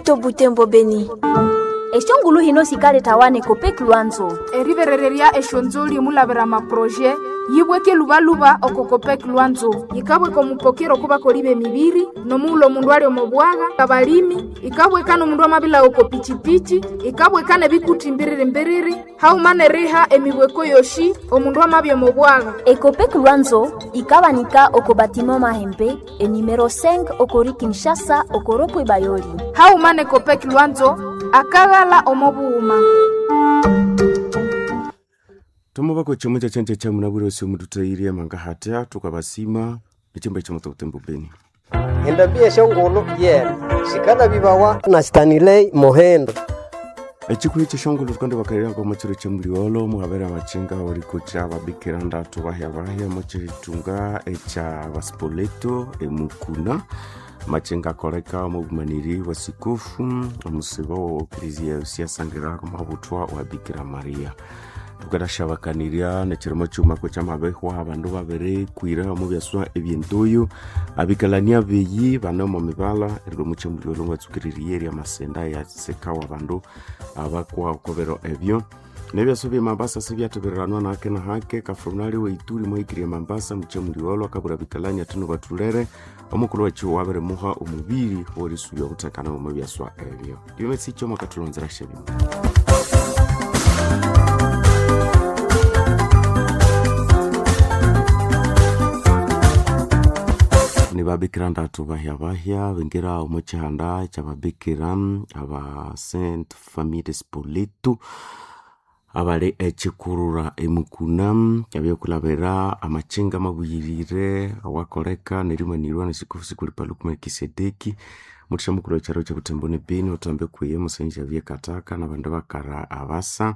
Moto Butembo Beni. Eshongulu hino sikaletawane Copec Lwanzo. Eriberererya eshonzoli omulabira amaproje yibweke lubaluba oko Copec Lwanzo. Yikabweka omupokero okubakoli b'emibiri nomughulhu omundu ali omo bwagha, abalimi, ikabweka n'omundu amabila oko pichipichi, ikabweka n'ebikuti mbiriri-mbiriri, haghuma n'eriha emibweko yoshi omundu amabya omo bwagha. Ecopec Lwanzo ikabanika oko batiment Mahembe enumero 5 okori Kinshasa okoropwe Bayoli. Haghuma ne Copec Lwanzo akaghala omo bughuma. Tomubako chomwe cha chenche cha munabwire osi mututairie manga hatia tukabasima echimba chomoto kutembo Beni. Endambi eshongolo yena sikala bibawa na Stanley Mohendo. Echikuru cheshongolo tukande bakalira kwa mochiro chemuliolo muhabera machinga orikucha babikira ndatu bahya bahya mochiritunga echa baspoleto emukuna machinga akoleka omubumaniri wa sikofu omusibo wa eklezia usiasangira mabuthwa wa Bikira Maria. Tukadashabakaniria nechirimo chumako chamabehwa abandu babirikwira omu byaswa ebyentoyo abikalania beyi bane omu mibala erilwa omuchemuliolo ngatsukiririye erya masenda yasekawa abandu abakwa okobero ebyo nebyaswa bya Mambasa sibyathebereranwa nahake na hake kafrunali weituri mwahikirie Mambasa muchemuliolo akabura bikalania athino bathulere omukulhu wekyiwo wabirimuha omubiri owerisubya obuthekane omu byaswa ebyo byomesicho mwakathulonzera shebimu. Ni babikira ndatu bahya bahya bingira omu kihanda kyababikira aba Saint Famille de Spoleto abali ekikurura emukuna abyokulabira amachinga mabuyirire awakoleka nerimanirwa nesikofu sikuli Paluku Melkisedeki mutisha mukulu wekyaro kyabutembo ne Beni otambe kwiye musenja byekataka nabandu bakara abasa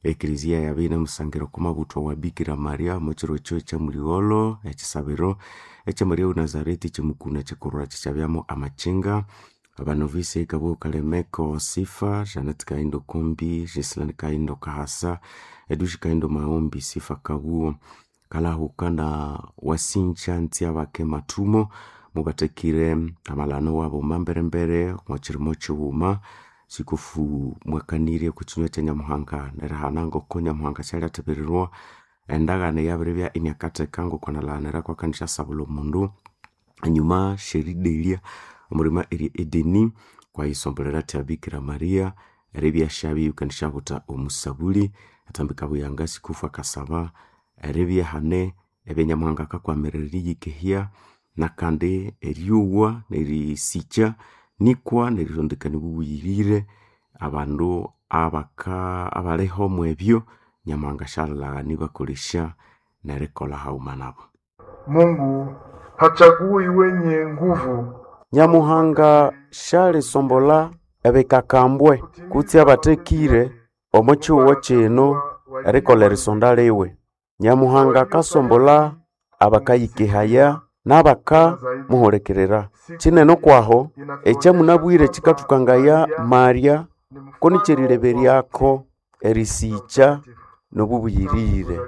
eklezia yabe musangira kumabuthwa wa Bikira Maria mukiro ekyo ekyamuligholo ekisabiro ekya Maria wa Nazareti kyemukuna kyikurura kyikyabyamu amachinga abanovisi kabo Kalemeko Sifa, Janet Kaindo Kombi, Gislaine Kaindo Kahasa, Edushi Kaindo Maombi, Sifa Kabuo, Kalahuka na Wasincha Ntiabake Matumo mubatekire amalano wabo mamberembere mwakirimo kiwuma sikufu mwakanirye kukinywa kya Nyamuhanga nerihana ngoko Nyamuhanga syalyathebererwa endagano eyabiribya iniakatheka ngokwanalaghanira kwakanisya sabula omundu enyuma syeridelya omulima eri Edeni kwayisombolera athi Bikira Maria eribya syabya ikandisyabutha omusabuli athambika buyanga sikufu akasaba eribya hane ebya Nyamuhanga akakwamirira eriyikehya nakandi eryowa nerisikya nikwa nerirondekania obubuyirire abandu abaka abaliho omwebyo Nyamuhanga syalilhaghana ibakolesya nerikolha haghuma nabo. Mungu hachagui wenye nguvu. Nyamuhanga syalisombolha ebikakambwe kutse abathekire omo kihugho kino erikolha erisonda liwe. Nyamuhanga akasombolha abakayikehaya n'abakamuhulikirira. Kinene okwaho ekyamunabwire kikathukangaya Maria ko nikyerileberyako erisikya n'obubuyirire.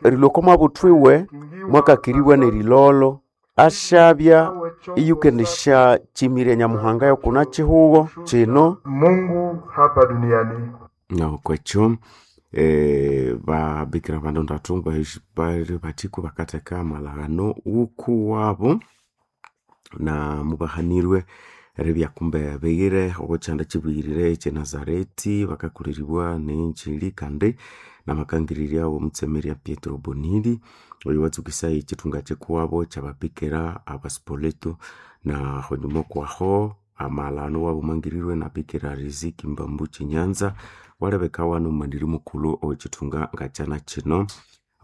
Erilhwa oko mabuthwiwe mwakakiribwa n'erilolo asyabya iyukendisyakimirya Nyamuhanga yokuna kihugho kino. Mungu hapa duniani. Nokwekyo babikira bandu ndatu bali bathiku bakatheka amalaghano wukuwabo na mubahanirwe eribya kumbe beyire obo kyanda kibuyirire ekye Nazareti bakakuliribwa nenjili kandi namakangirirya womutsemerya Pietro Bonilli oyo watsukisa ekithunga kyikuwabo kyababikira abaspoleto na honyuma okwaho amalano wabo mangirirwe na Bikira Riziki Mbambu Kinyanza walebeka nomumaniri mukulhu owekithunga ngakyana kino.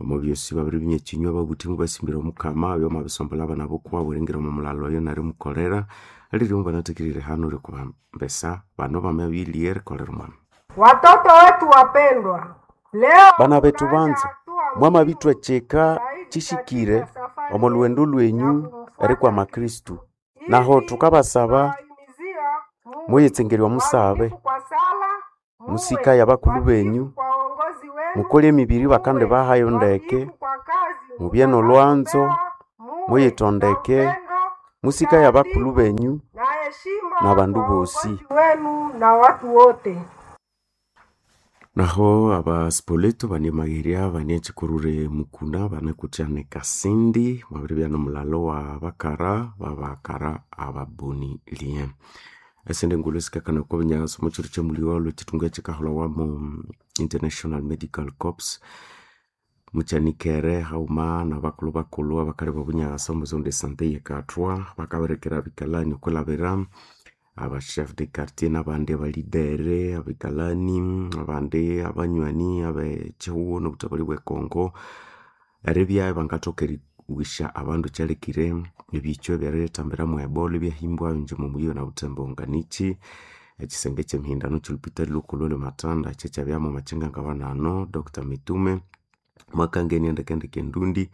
Omo byosi babiriminya ekinywa ababuthi mubasimbira omukama oyo amabisombolha abana bokuwabo eringira omo mulhalo oyo nerimukolera alirimo banathekirire hano rikubambesa bano bamabiriye erikolera omwami. Watoto wetu wapendwa, leo Bana bethu banza mwamabithwa kyika kishikire omo lhughendo lwenyu erikwama Kristu naho thukabasaba muyitsengerya omusabe musikaye abakulhu benyu mukole emibiri bakandibahayo ndeke mubye nolwanzo muyithondeke musikaye abakulhu benyu N'abandu bosi wenu na watu wote. Naho abasipoleto banemagherya banechikurure mukuna banekuthyane kasindi mwabiribya nomulalo wa bakara babakara ababoni lien esende ngulu esikakana okwa binyaso mukyiro kyamuliwa olwekithunga ekikaholhawa mu International Medical Corps mukyanikere haghuma nabakulhu bakulhu abakali bobunyasa omu zone de sante yekathwa bakabirekera bikalani okwilhabira aba chef de quartier nabandi abalidere abikalani abandi abanywani abekyihugho nobuthabali bwe Congo eribya ibangathoka eriwisya abandu kyalekire ebichwa ebyerithambira mwe Ebola ebyahimbwa inje omo muyi na Butembo nganichi ekisenge ekyemihindano kyolupitali lhukulhu olwe Matanda kyekyabyamu amakyenga ngabanano Dr. Mitume mwakangenia ndekendeke endundi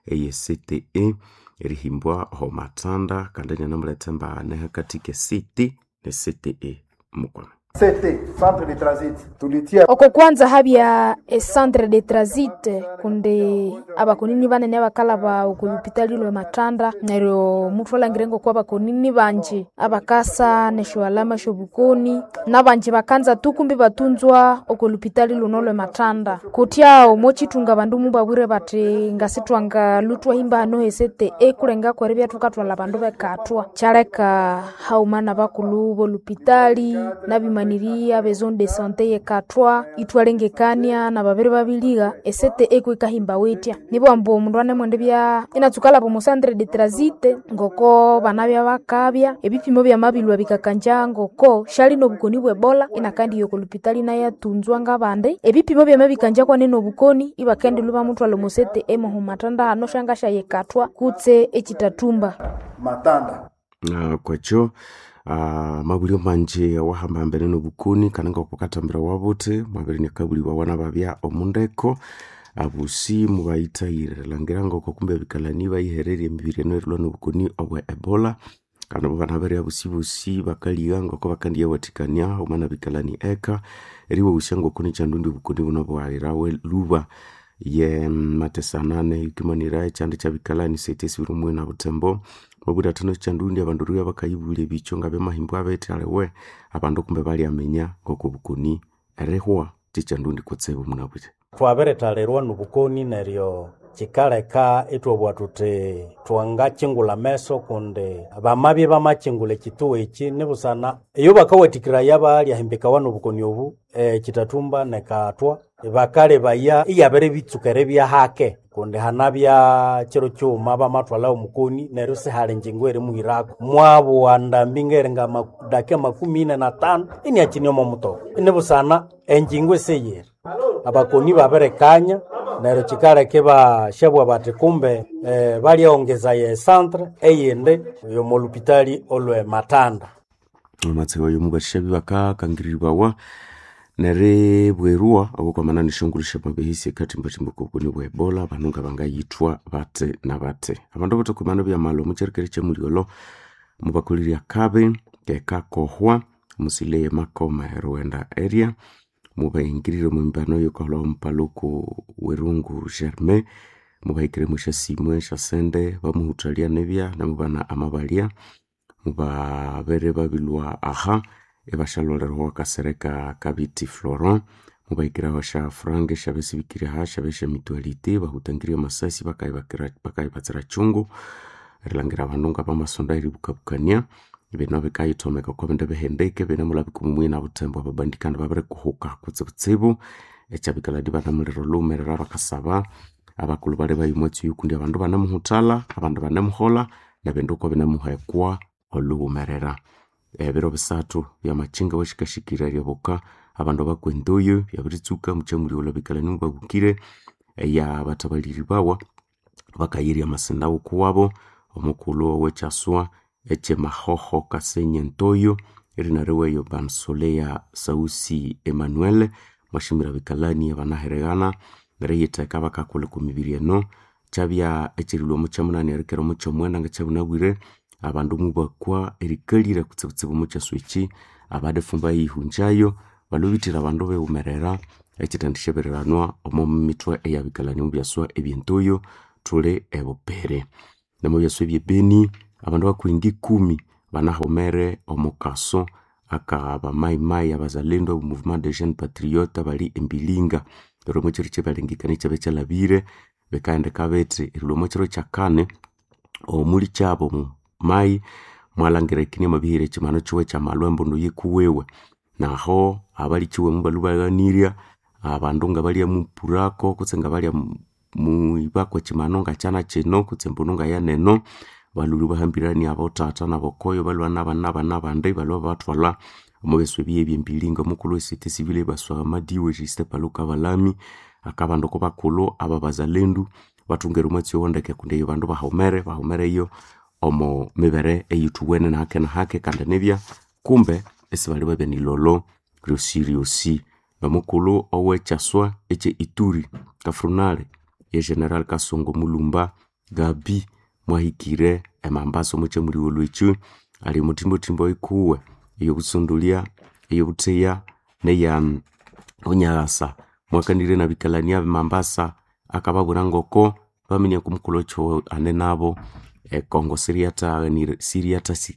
eye CTE erihimbwa oho Matanda kandi inanamuletha embahane hakati ke CT ne CTE mukwame. CT, centre de transit tulitia Oko kwanza habya e centre de transit kundi abakonini banene abakalaba oku lupitali lwe Matanda neryo muthu alangire ngoko abakonini banji abakasa nesyoalama syobukoni nabanji bakanza tu kumbi batunzwa oko lupitali luno lwe Matanda kutya omo kyithunga abandu mubabwire bathi ngasithwanga lutwahimba hano he CTE kulenga kweribya thukathwalha abandu bekathwa kyaleka haghuma nabakulhu bolupitali nabimaniriya be zone de sante yekathwa ithwalengekania nababiri babiligha e CTE kwikahimbawa etya nibwa ambu omundu anemwendibya inatsuka lhaba omo centre de transit ngoko banabya bakabya ebipimo byamabilhwa bikakanja ngoko syali nobukoni bwe Ebola inakandiya oko lupitali inayatunzwa ngabandi ebipimo byamabikanja kwanene obukoni ibakendilhwa ibamuthwalha omo CTE moho Matanda hano syangasyayikathwa kutse ekitathumba Matanda. Kwekyo mabulyo manji awahambahambene nobukoni kandi ngoko kathambira wabuthi mwabiri nyakabulibwa nababya omundeko abusi mubayithayire langira ngoko kumbe abikalani bayihererye emibiri eno erilhwa nobukoni obwe Ebola kandi abo banabere abusi bosi bakaligha ngoko bakandiyawathikania haghuma nabikalani eka eriwaghusya ngoko nikyandundi obukoni buno bwaghirawe lhuba ye matesanane yukimanira ekyanda kyabikalani sete esibiri omwina Butembo mabwira athano kyandundi abandu ribya bakayibulya ebicho ngabyamahimbwa bethi aliwe abandu kumbe balyaminya ngoko obukoni erihwa kyekyandundi kutsibu munabwire. Twabirithalirwa nobukoni neryo kyikaleka ithwabugha thuthi twangakyingulha ameso kundi bamabya bamakyingulha ekyitugha ekyi nibusana eyo bakawathikiraya balyahimbikawa nobukoni obu ekitathumba nekathwa bakalebaya iyabiribitsuka eribya hake kundi hanabya kiro kighuma bamathwalha omukoni neryo sihali enjingo erimuhirako mwabugha ndambi ngeringa madakika 45 iniakine omo mutoka inibusana enjingo isiyiri abakoni babirikanya neryo kyikaleka ibashabugha bathi kumbe balyaongezaya ecentre eyindi yomolupitali olwe Matanda. Amatsiko oyo mubashabi bakakangirirwawa neribwerwa obukwamana neshongolo syamabehesi ekathimbathimba okobukoni bwa Ebola banu ngabangayithwa bathi na bathi abandu abathakumana byamali omukyarikere kyamulyolho mubakolirya akabi kekakohwa musile yemakoma erughenda area mubahingirire omwembano yokaholhawa omupaluku werungu Germain mubahikire mwesyasimwe esyasente bamuhuthalya nibya namubana amabalya mubabere babilhwa aha ibashalholeraho akasereka kabiti Florent mubahikiraho sya franga esyabasibikire aha syabya syamitualite bahutangirye amasasi bakayibatsira kyungu erilhangira abandu ngabamasonda eribukabukania bino bikayithomeka okwa bindu bihendeke binemulabika omu na Butembo ababandikana babirikuhuka kutsibutsibu ekyabikaladi banamulira olhumerera bakasaba abakulhu bali bayimwatsi kundi abandu banemuhuthalha abandu banemuholha nebindu ko binemuhekwa olhuwumerera ebiro bisathu byamakynga washikashikira eryoboka abandu bakwa endoyo byabiritsuka mukyamulyola bikalani mubabukire eya bathabaliri bawa bakayirya amasinda wukuwabo omukulhu owekyaswa ekyemahoho Kasenyi Ntoyo erinariweyo Bansoleya Sausi Emmanuel mwashimira bikalani abanahereghana neriyitheka bakakolha okwa mibiri eno kyabya ekyerilhwa omukyamunani erikera omukyamwenda ngakyabunabwire abandu mubakwa erikalira kutsibutsibu omukyaswa ekyi abadifumba eyihunjayo balhubithira abandu beghumerera ekyithendisyebireranwa omo mithwe eyabikalani omubyaswa ebyentoyo thuli ebupere nemubyaswa ebyebeni abandu bakuhinga ikumi banahomere omukaso aka bamaimai abazalendo obu mouvement de jeunes patriotes bali embilinga. Neryo omwekiro kyebalengekania ekyabe kyalhabire bikahendeka bithi erilhwa omwekiro kyakani omuli kyabo mai mwalangira ikine amabihira ekimanu kiwe kyamalwa embundu yikuwiwe. Naho abalikiwe mubalhwa ibaghanirya abandu ngabalya mupurako kutse ngabalya muibako ekimanu ngakyana kino kutse embundu ngayaneno, balhwire ibahambirania abothatha nabokoyo balhwa nabandi ibalhwa babathwalha omo byaswa ebiya ebyembilinga. Omukulhu we société civile ebaswa Madiwe Justin Paluku Kabalami akabandu kubakulhu ababazalendu bathungere omwatsi owo ndeke kundi eyo bandu bahomere bahomereyo omo mibere eyithuwene nahake nahake kandi nibya kumbe isibali babya nilholo ryosi ryosi. Nomukulhu owekyaswa ekye Ituri Kafrunale ye General Kasongo Mulumba Gabi mwahikire emambasa omo kyamuligholho ekyo ali omuthimbothimbo ikuwe eyobusondolya, eyobutheya neya bunyaghasa. Mwakanirye nabikalania b'emambasa akababwira ngoko baminya okumukulhu ekyo ane nabo ekongo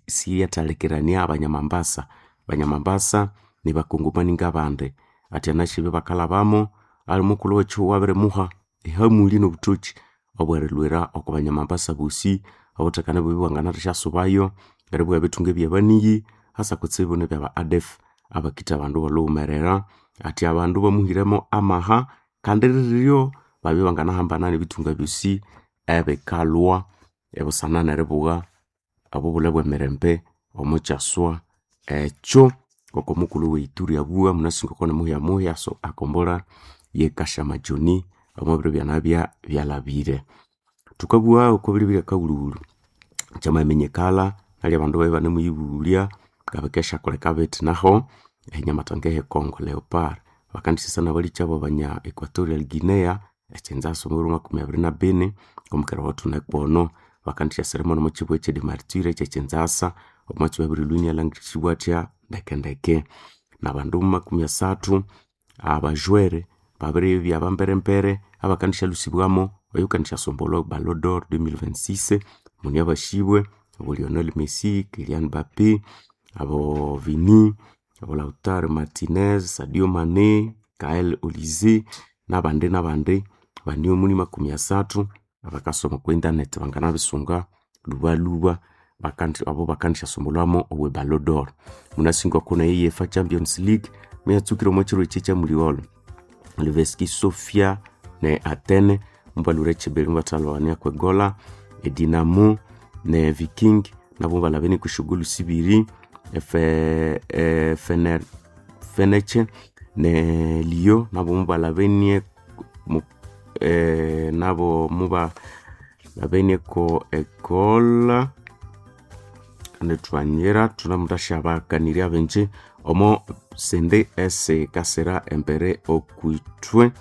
siriyathalekirania abanyamambasa. Abanyamambasa nibakongomani ngabandi athi anasi bakalhabamo ali mukulhu wekihugho abirimuha ehamuli nobuthoki obwerilhwira oko banyamambasa bosi obuthekane bubi bwanganathasya eribugha ebithunga ebyabaniyi hasa kutsibu nebyaba ADF abakitha abandu balhughumerera. Athi abandu bamuhiremo amaha kandi riryo babya banganahambana nebithunga byosi ebikalhwa ebusana neribugha obubulhe bwemirembe omo kyaswa ekyo. Ngoko mukulhu we Ituri abugha munasi ngoko nimuhyamuhya so akombolha ye Kashamajoni omo biro byanabya byalhabire. Thukabugha oko biribiri akawulhuwulhu kyamaminyikala nalyo abandu babya ibanemuyibulya ngabikesyakoleka bithi naho enyamatanga eye Congo Leopard bakandisesa nabalikyabo abanya Equatorial Guinea ekyinzasa omwibiro makumi abiri na bini omukera wathunekwono. Bakandisyaseremo nomukibugha ekye Demartyre ekyekyinzasa omwatsi wabirilhwa inyalangirisibwa athya ndekendeke. Nabandu makumi asathu abajwere babiribya bamberembere abakandisyalusibwamo oyukandisyaasombolha Ballon d'Or 2026 muni abasibwe abo Lionel Messi, Kylian Mbappe, abo Vini, abo Lautaro Martinez, Sadio Mane, Gael Olise nabandi nabandi bane omuni makumi asathu abakasoma okwa internet banganabisunga lhubalhuba abo bakandisyaasombolhwamo owe Ballon d'Or. Munasi ngoko nayo UEFA Champions League muyatsukire omo kiro ekyi ekyamuligholho Levski Sofia ne Athene mubalhwire ekyibiri mubathalhawania kwegola, e Dinamo ne Viking nabo mubalhabene kwesyogoal sibiri, Fenerbahce ne Lyon nabo mubalhabenie nabo mubalhabeneko egoal nithwanyira thunamuthasyabakanirya abingi omo sindi esikasira embere okwithwe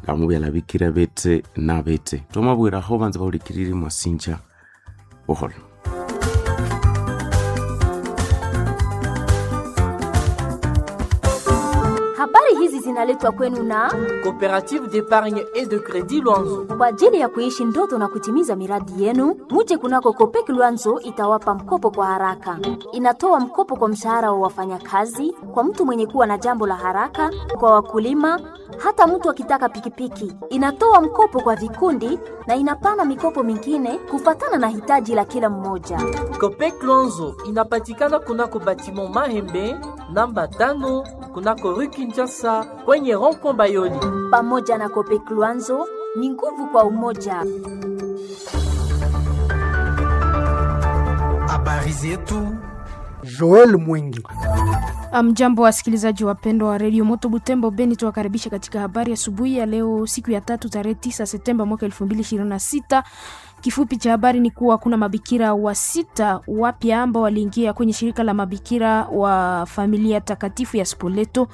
ngamubyalhabikire bithi na bithi. Thwamabwiraho banza bahulikiriri mwasinja buholho. Habari hizi zinaletwa kwenu na Coopérative d'épargne et de crédit Luanzo. Kwa ajili ya kuishi ndoto na kutimiza miradi yenu, muje kunako Copec Luanzo itawapa mkopo kwa haraka. Inatoa mkopo kwa mshahara wa wafanyakazi, kwa mtu mwenye kuwa na jambo la haraka, kwa wakulima, hata mtu akitaka pikipiki. Inatoa mkopo kwa vikundi na inapana mikopo mingine kufatana na hitaji la kila mmoja. Copec Luanzo inapatikana kunako batiment Mahembe namba 5 kunako rue Kinshasa kwenye rond-point Bayoli. Pamoja na Copec Luanzo ni nguvu kwa umoja. Habari zetu Joel Mwingi. Mjambo wasikilizaji wapendwa wa redio Moto Butembo Beni, tuwakaribisha katika habari asubuhi ya leo, siku ya tatu, tarehe 9 Septemba mwaka 2026. Kifupi cha habari ni kuwa kuna mabikira wa sita wapya ambao waliingia kwenye shirika la mabikira wa familia takatifu ya Spoleto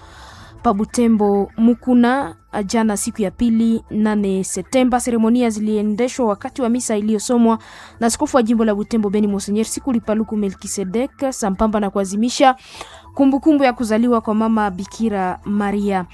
pa Butembo Mukuna jana siku ya pili 8 Septemba. Seremonia ziliendeshwa wakati wa misa iliyosomwa na askofu wa jimbo la Butembo Beni Monsenyer Sikuli Paluku Melkisedek sambamba na kuazimisha kumbukumbu ya kuzaliwa kwa mama Bikira Maria.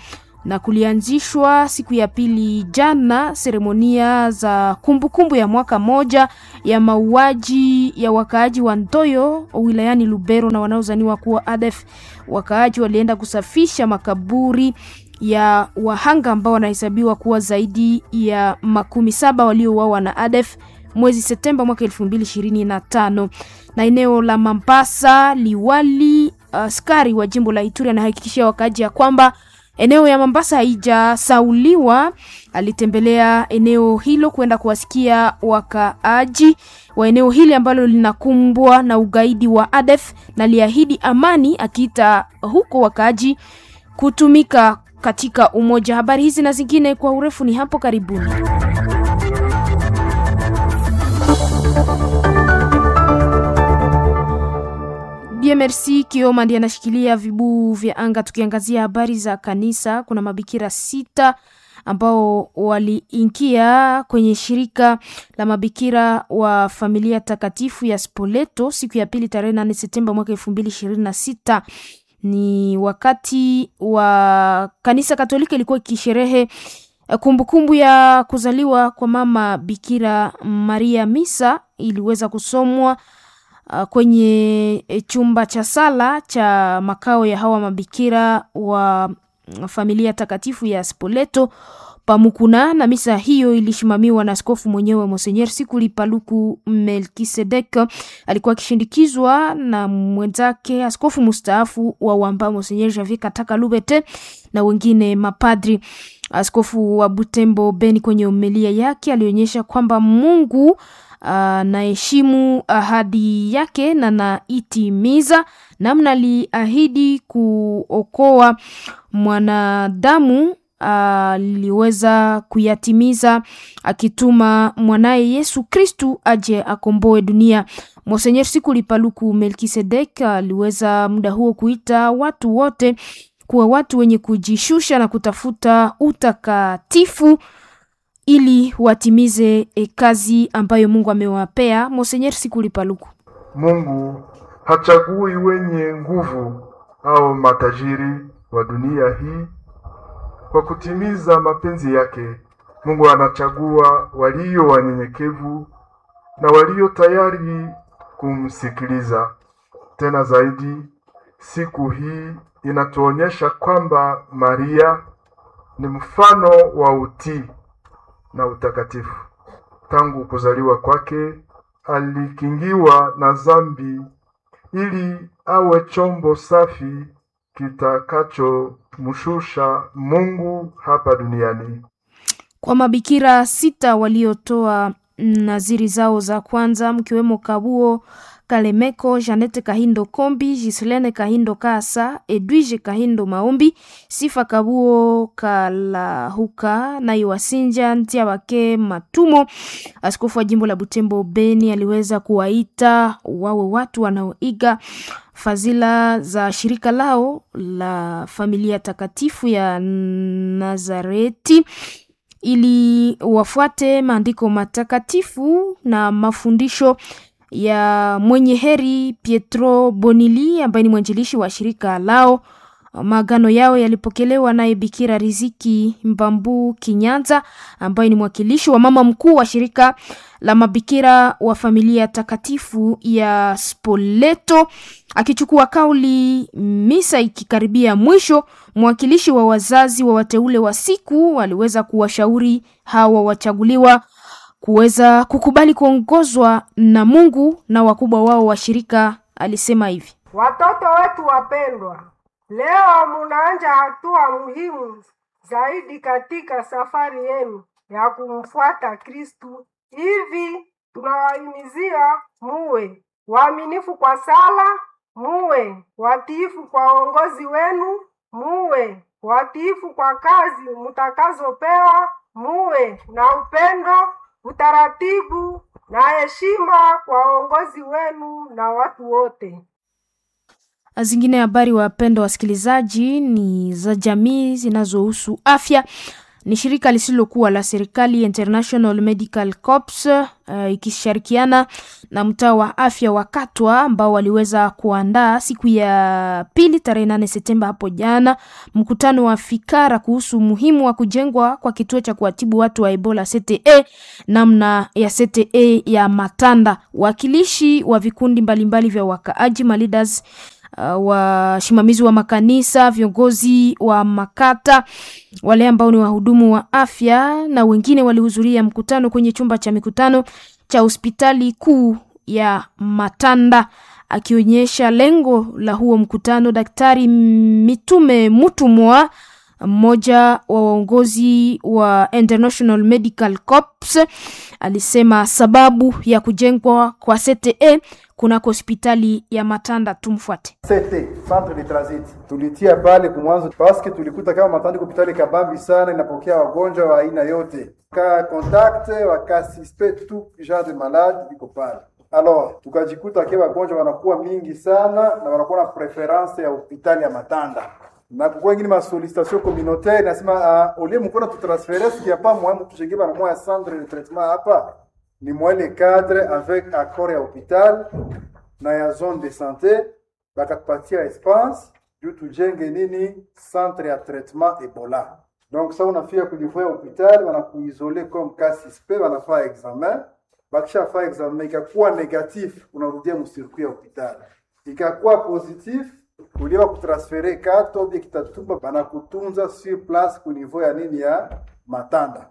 Na kulianzishwa siku ya pili jana seremonia za kumbukumbu kumbu ya mwaka moja ya mauaji ya wakaaji wa Ntoyo wilayani Lubero na wanaozaniwa kuwa ADF. Wakaaji walienda kusafisha makaburi ya wahanga ambao wanahesabiwa kuwa zaidi ya 70 waliouawa na ADF mwezi Septemba mwaka 2025. Na eneo la Mambasa, liwali askari wa jimbo la Ituri anahakikishia wakaaji ya kwamba eneo ya Mombasa haijasauliwa. Alitembelea eneo hilo kwenda kuwasikia wakaaji wa eneo hili ambalo linakumbwa na ugaidi wa ADF na liahidi amani, akiita huko wakaaji kutumika katika umoja. Habari hizi na zingine kwa urefu ni hapo karibuni. Merci Kioma ndiye anashikilia vibuu vya anga. Tukiangazia habari za kanisa, kuna mabikira 6 ambao waliingia kwenye shirika la mabikira wa familia takatifu ya Spoleto siku ya pili tarehe 8 Septemba mwaka 2026. Ni wakati wa kanisa Katoliki ilikuwa ikisherehe kumbukumbu ya kuzaliwa kwa mama Bikira Maria. Misa iliweza kusomwa kwenye chumba cha sala cha makao ya hawa mabikira wa familia takatifu ya Spoleto Pamukuna, na misa hiyo ilishimamiwa na askofu mwenyewe Monsenyer Sikuli Paluku Melkisedek. Alikuwa akishindikizwa na mwenzake askofu mustaafu wa Wamba Monsenyer Javier Kataka Lubete na wengine mapadri. Askofu wa Butembo Beni kwenye homilia yake alionyesha kwamba Mungu anaheshimu ahadi yake na naitimiza namna aliahidi kuokoa mwanadamu aliweza kuyatimiza akituma mwanaye Yesu Kristu aje akomboe dunia. Monsenyer Sikuli Paluku Melkisedek aliweza muda huo kuita watu wote kuwa watu wenye kujishusha na kutafuta utakatifu ili watimize kazi ambayo Mungu amewapea. Monsenyer Sikuli Paluku: Mungu hachagui wenye nguvu au matajiri wa dunia hii kwa kutimiza mapenzi yake. Mungu anachagua walio wanyenyekevu na walio tayari kumsikiliza. Tena zaidi, siku hii inatuonyesha kwamba Maria ni mfano wa utii na utakatifu. Tangu kuzaliwa kwake alikingiwa na dhambi ili awe chombo safi kitakachomshusha Mungu hapa duniani. Kwa mabikira 6 waliotoa naziri zao za kwanza, mkiwemo Kabuo Kalemeko, Janete Kahindo Kombi, Gislene Kahindo Kasa, Edwige Kahindo Maombi, Sifa Kabuo Kalahuka na Iwasinja Ntiabake Matumo. Askofu wa jimbo la Butembo Beni aliweza kuwaita wawe watu wanaoiga fadhila za shirika lao la familia takatifu ya Nazareti ili wafuate maandiko matakatifu na mafundisho ya mwenye heri Pietro Bonili ambaye ni mwanjilishi wa shirika lao. Maagano yao yalipokelewa naye Bikira Riziki Mbambu Kinyanza ambaye ni mwakilishi wa mama mkuu wa shirika la mabikira wa familia takatifu ya Spoleto. Akichukua kauli misa ikikaribia mwisho, mwakilishi wa wazazi wa wateule wa siku aliweza kuwashauri hawa wachaguliwa kuweza kukubali kuongozwa na Mungu na wakubwa wao wa shirika. Alisema hivi: watoto wetu wapendwa, leo munaanja hatua muhimu zaidi katika safari yenu ya kumfuata Kristu. Hivi tunawahimizia muwe waaminifu kwa sala, muwe watiifu kwa uongozi wenu, muwe watiifu kwa kazi mutakazopewa, muwe na upendo, utaratibu na heshima kwa uongozi wenu na watu wote. Zingine habari, wapendwa wasikilizaji, ni za jamii zinazohusu afya. Ni shirika lisilokuwa la serikali International Medical Corps ikishirikiana na mtaa wa afya wa Katwa ambao waliweza kuandaa siku ya pili tarehe 8 Septemba hapo jana mkutano wa fikara kuhusu umuhimu wa kujengwa kwa kituo cha kuwatibu watu wa Ebola CTE, namna ya CTE ya Matanda. Wakilishi wa vikundi mbalimbali vya wakaaji maleaders, wasimamizi wa makanisa, viongozi wa makata, wale ambao ni wahudumu wa afya na wengine walihudhuria mkutano kwenye chumba cha mikutano cha hospitali kuu ya Matanda. Akionyesha lengo la huo mkutano, Daktari Mitume Mutumwa, mmoja wa waongozi wa International Medical Corps, alisema sababu ya kujengwa kwa CTE kunako hospitali ya Matanda. Tumfuate. CT centre de transit tulitia pale kumwanzo paske tulikuta kama Matanda iko hospitali kabambi sana, inapokea wagonjwa wa aina yote ka contact waka suspect tout genre de malade iko pale. Alors tukajikuta ke wagonjwa wanakuwa mingi sana na wanakuwa na preference ya hospitali ya Matanda na kukuwa ingine masolicitation communautaire nasema uh, olie mukona tutransfere sikia pa mwa mtujenge bana mwa centre de traitement hapa ni mwa le cadre avec accord ya hôpital na ya zone de santé bakatupatia espace juu tujenge nini centre ya traitement Ebola. Donc sa unafika kunivou ya hôpital wanakuisole comme cas suspect, wanafaa examen, bakishafaa examen ikakuwa negatif, unarudia mcircuit ya hôpital, ikakuwa positif uliwa kutransfere kato bie Kitatumba, banakutunza sur place ku niveau ya nini ya Matanda.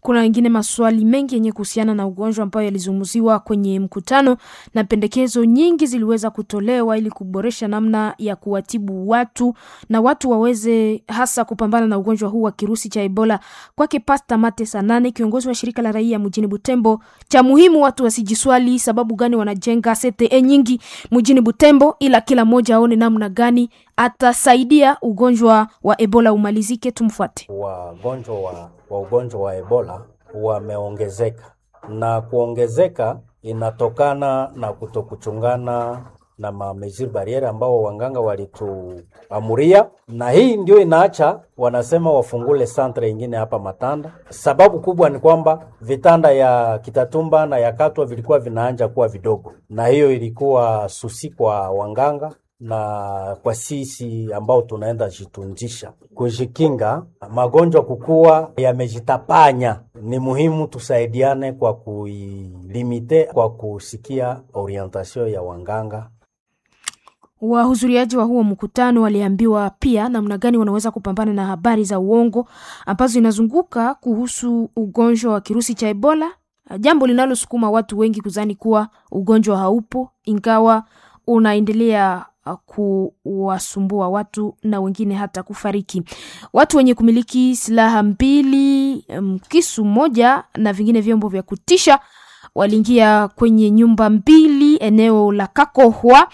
Kuna wengine maswali mengi yenye kuhusiana na ugonjwa ambayo yalizungumziwa kwenye mkutano na pendekezo nyingi ziliweza kutolewa ili kuboresha namna ya kuwatibu watu na watu waweze hasa kupambana na ugonjwa huu wa kirusi cha Ebola. Kwake Pasta Mate Sanane, kiongozi wa shirika la raia mjini Butembo, cha muhimu watu wasijiswali sababu gani wanajenga CTE nyingi mjini Butembo, ila kila mmoja aone namna gani atasaidia ugonjwa wa Ebola umalizike. Tumfuate. Wagonjwa wa ugonjwa wa Ebola wameongezeka na kuongezeka inatokana na kutokuchungana na ma mesures barriere ambao wanganga walituamuria, na hii ndio inaacha wanasema wafungule centre ingine hapa Matanda. Sababu kubwa ni kwamba vitanda ya Kitatumba na ya Katwa vilikuwa vinaanja kuwa vidogo, na hiyo ilikuwa susi kwa wanganga na kwa sisi ambao tunaenda jitunzisha kujikinga magonjwa kukua yamejitapanya, ni muhimu tusaidiane kwa kuilimite, kwa kusikia orientation ya wanganga. Wahudhuriaji wa huo mkutano waliambiwa pia namna gani wanaweza kupambana na habari za uongo ambazo inazunguka kuhusu ugonjwa wa kirusi cha Ebola, jambo linalosukuma watu wengi kuzani kuwa ugonjwa haupo ingawa unaendelea kuwasumbua watu na wengine hata kufariki. Watu wenye kumiliki silaha mbili, kisu moja na vingine vyombo vya kutisha waliingia kwenye nyumba mbili eneo la Kakohwa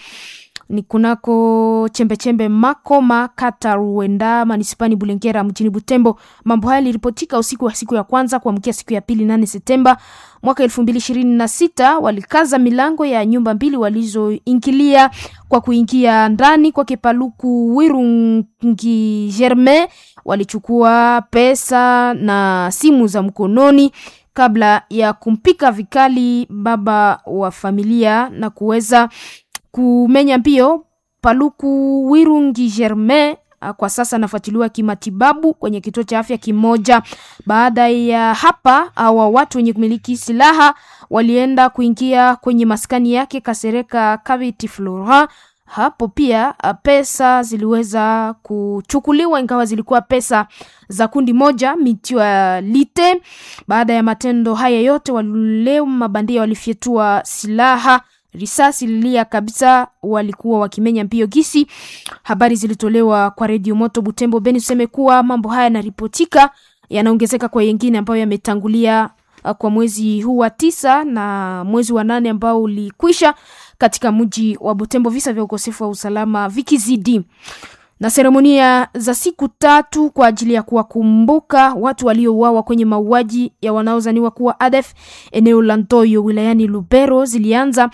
ni kunako chembechembe Makoma kata Ruenda manispani Bulengera mjini Butembo. Mambo haya yaliripotika usiku wa siku ya kwanza kuamkia siku ya pili 8 Septemba mwaka 2026. Walikaza milango ya nyumba mbili walizoingilia kwa kuingia ndani kwa Kipaluku Wirungi Germain, walichukua pesa na simu za mkononi kabla ya kumpika vikali baba wa familia na kuweza kumenya mbio. Paluku Wirungi Germain kwa sasa anafuatiliwa kimatibabu kwenye kituo cha afya kimoja. Baada ya hapa, hawa watu wenye kumiliki silaha walienda kuingia kwenye maskani yake Kasereka Kaviti Flora. Hapo pia pesa ziliweza kuchukuliwa, ingawa zilikuwa pesa za kundi moja Mutualite. Baada ya matendo haya yote, wale mabandia walifyetua silaha risasi lilia kabisa, walikuwa wakimenya mbio gisi. Habari zilitolewa kwa redio Moto Butembo Beni. Tuseme kuwa mambo haya yanaripotika yanaongezeka kwa yengine ambayo yametangulia kwa mwezi huu wa 9 na mwezi wa 8 ambao ulikwisha katika mji wa Butembo, visa vya ukosefu wa usalama vikizidi na seremonia za siku 3 kwa ajili ya kuwakumbuka watu waliouawa kwenye mauaji ya wanaozaniwa kuwa ADF eneo la Ntoyo wilayani Lubero zilianza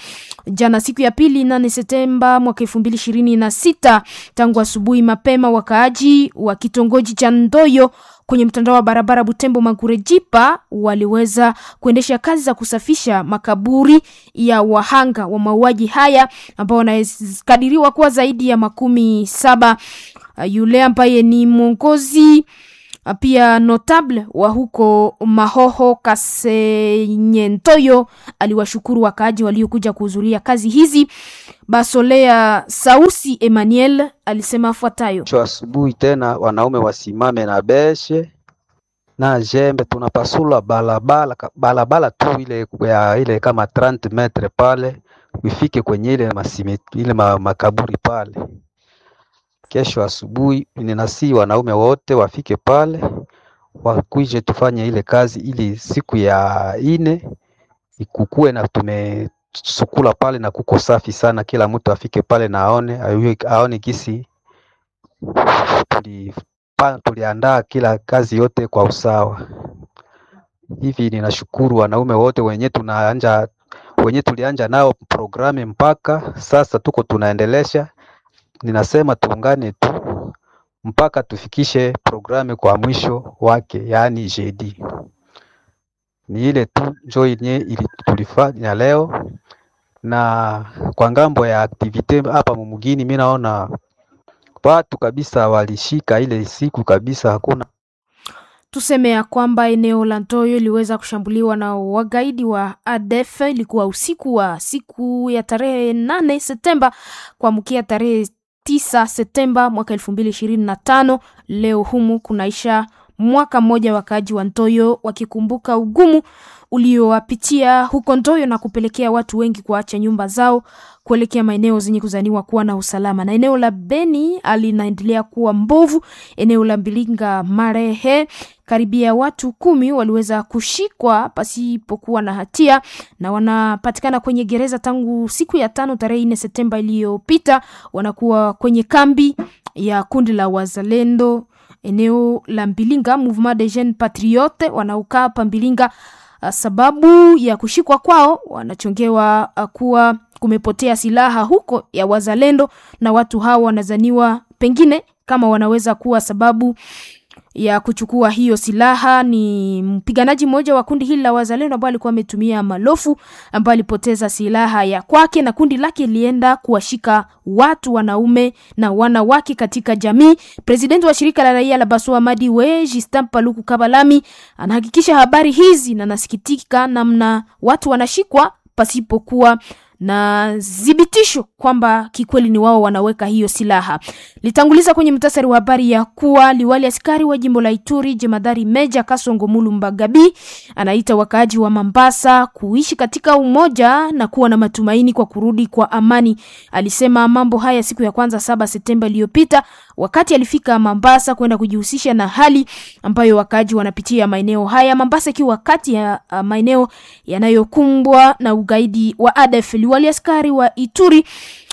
jana siku ya pili 8 Septemba mwaka 2026. Tangu asubuhi mapema, wakaaji wa kitongoji cha Ntoyo kwenye mtandao wa barabara Butembo Magurejipa waliweza kuendesha kazi za kusafisha makaburi ya wahanga wa mauaji haya ambao wanakadiriwa kuwa zaidi ya 70. Yule ambaye ni mwongozi pia notable wa huko Mahoho Kasenyentoyo aliwashukuru wakaaji waliokuja kuhudhuria kazi hizi. Basolea Sausi Emmanuel alisema afuatayo: Kesho asubuhi tena wanaume wasimame na beshe na jembe, tunapasula balabala balabala tu ile ya ile kama 30 metre pale ifike kwenye ile masime, ile makaburi pale. Kesho asubuhi ninasi wanaume wote wafike pale wakuje tufanye ile kazi, ili siku ya ine ikukue na tumesukula pale na kuko safi sana. Kila mtu afike pale na aone aone gisi tuliandaa kila kazi yote kwa usawa. Hivi ninashukuru wanaume wote wenye tunaanja wenye tulianja nao programu mpaka sasa tuko tunaendelesha. Ninasema tuungane tu mpaka tufikishe programu kwa mwisho wake, yaani jeudi. Ni ile tu njo yenye tulifanya leo. Na kwa ngambo ya activite hapa mumugini, mimi naona watu kabisa walishika ile siku kabisa, hakuna Tuseme ya kwamba eneo la Ntoyo iliweza kushambuliwa na wagaidi wa ADF. Ilikuwa usiku wa siku ya tarehe 8 Septemba kuamkia tarehe 9 Septemba mwaka 2025. Leo humu kunaisha mwaka mmoja wakaaji wa Ntoyo wakikumbuka ugumu uliowapitia huko Ntoyo na kupelekea watu wengi kuacha nyumba zao kuelekea maeneo zenye kuzaniwa kuwa na usalama. Na eneo la Beni linaendelea kuwa mbovu. Eneo la Mbilinga Marehe, karibia watu 10 waliweza kushikwa pasipokuwa na hatia na wanapatikana kwenye gereza tangu siku ya 5 tarehe 4 Septemba iliyopita. Wanakuwa kwenye kambi ya kundi la Wazalendo eneo la Mbilinga, Mouvement des Jeunes Patriotes, wanaokaa hapa Mbilinga. Sababu ya kushikwa kwao wanachongewa kuwa kumepotea silaha huko ya Wazalendo, na watu hawa wanazaniwa pengine kama wanaweza kuwa sababu ya kuchukua hiyo silaha. Ni mpiganaji mmoja wa kundi hili la Wazalendo ambaye alikuwa ametumia malofu, ambaye alipoteza silaha ya kwake na kundi lake lienda kuwashika watu wanaume na wanawake katika jamii. Presidenti wa shirika la raia la Baswa Madiwe, Justin Paluku Kabalami, anahakikisha habari hizi na anasikitika namna watu wanashikwa pasipokuwa na thibitisho kwamba kikweli ni wao wanaweka hiyo silaha. Litanguliza kwenye mtasari wa habari ya kuwa liwali askari wa jimbo la Ituri jemadari Meja Kasongo Mulumba Gabi anaita wakaaji wa Mambasa kuishi katika umoja na kuwa na matumaini kwa kurudi kwa amani. Alisema mambo haya siku ya kwanza 7 Septemba iliyopita wakati alifika Mambasa kwenda kujihusisha na hali ambayo wakaaji wanapitia maeneo haya, Mambasa ikiwa kati ya maeneo yanayokumbwa na ugaidi wa ADF. Liwali askari wa Ituri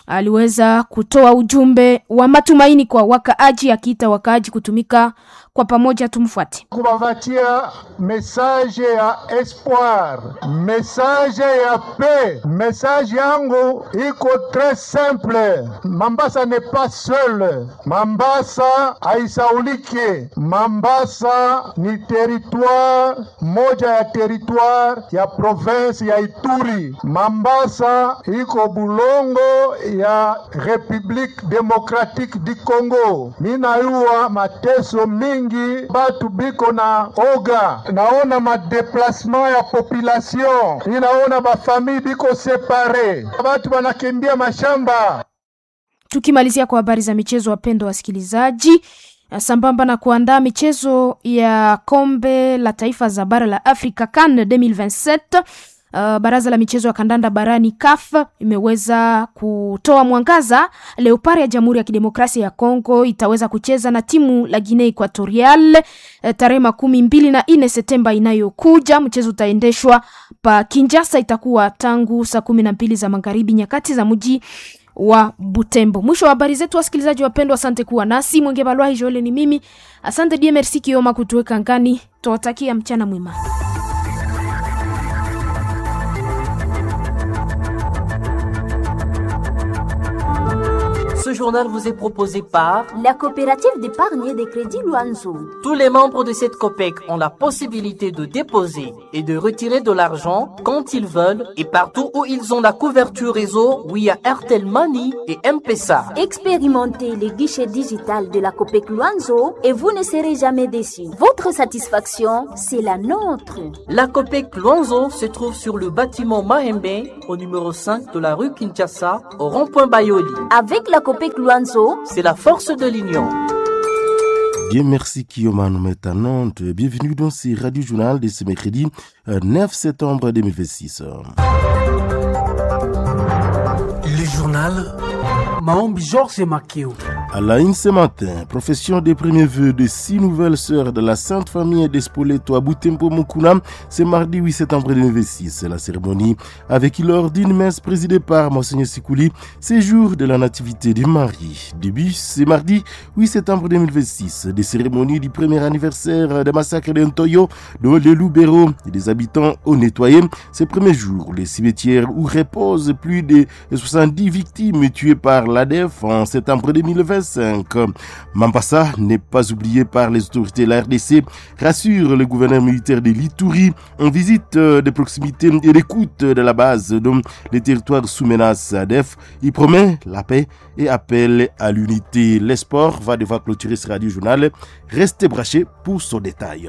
aliweza kutoa ujumbe wa matumaini kwa wakaaji, akiita wakaaji kutumika kwa pamoja. Tumfuate. Kubapatia message ya espoir, message ya paix. Message yangu iko tres simple. Mambasa n'est pas seule. Mambasa haisaulike. Mambasa ni territoire moja ya territoire ya province ya Ituri. Mambasa iko bulongo ya Republique Democratique du Congo. Minayua mateso mingi, batu biko na oga, naona madeplasement ya population, ninaona bafamille biko separe, batu banakimbia mashamba. Tukimalizia kwa habari za michezo, wapendwa wasikilizaji, sambamba na kuandaa michezo ya kombe la taifa za bara la Afrika CAN 2027 baraza la michezo ya kandanda barani CAF imeweza kutoa mwangaza. Leopard ya Jamhuri ya Kidemokrasia ya Kongo itaweza kucheza na timu la Guinea Equatorial tarehe 24 Septemba inayokuja. Mchezo utaendeshwa pa Kinshasa, itakuwa tangu saa 12 za magharibi nyakati za mji wa Butembo. Mwisho wa habari zetu, wasikilizaji wapendwa, asante kuwa nasi. Mwenge Balwahi Joel ni mimi, asante DMRC Kioma kutuweka ngani. Tuwatakia mchana mwema. Ce journal vous est proposé par la coopérative d'épargne et de crédit Luanzo. Tous les membres de cette COPEC ont la possibilité de déposer et de retirer de l'argent quand ils veulent et partout où ils ont la couverture réseau via Airtel Money et M-Pesa. Expérimentez les guichets digital de la COPEC Luanzo et vous ne serez jamais déçus. Votre satisfaction, c'est la nôtre. La COPEC Luanzo se trouve sur le bâtiment Mahembe au numéro 5 de la rue Kinshasa au rond-point Bayoli. Avec la COPEC Luanzo, c'est la force de l'union. Bien, merci Kiyoma Nantes. Bienvenue dans ce radio journal de ce mercredi 9 septembre 2026. Le journal Maombi Georges Makeo. À la une ce matin, profession des premiers vœux de six nouvelles sœurs de la Sainte Famille d'Espoleto à Butembo Mukuna, ce mardi 8 septembre 2026. La cérémonie avec lors d'une messe présidée par Monseigneur Sikouli, séjour de la Nativité de Marie. Début ce mardi 8 septembre 2026, des cérémonies du premier anniversaire des massacres d'Ntoyo, de Lubero et des habitants ont nettoyé ces premiers jours les cimetières où reposent plus de 70 victimes tuées par l'ADF en septembre 2025. Mambassa n'est pas oublié par les autorités de la RDC, rassure le gouverneur militaire de l'Ituri en visite de proximité et d'écoute de la base dont les territoires sous menace ADF. Il promet la paix et appelle à l'unité. L'espoir va devoir clôturer ce radio journal. Restez branchés pour son détail.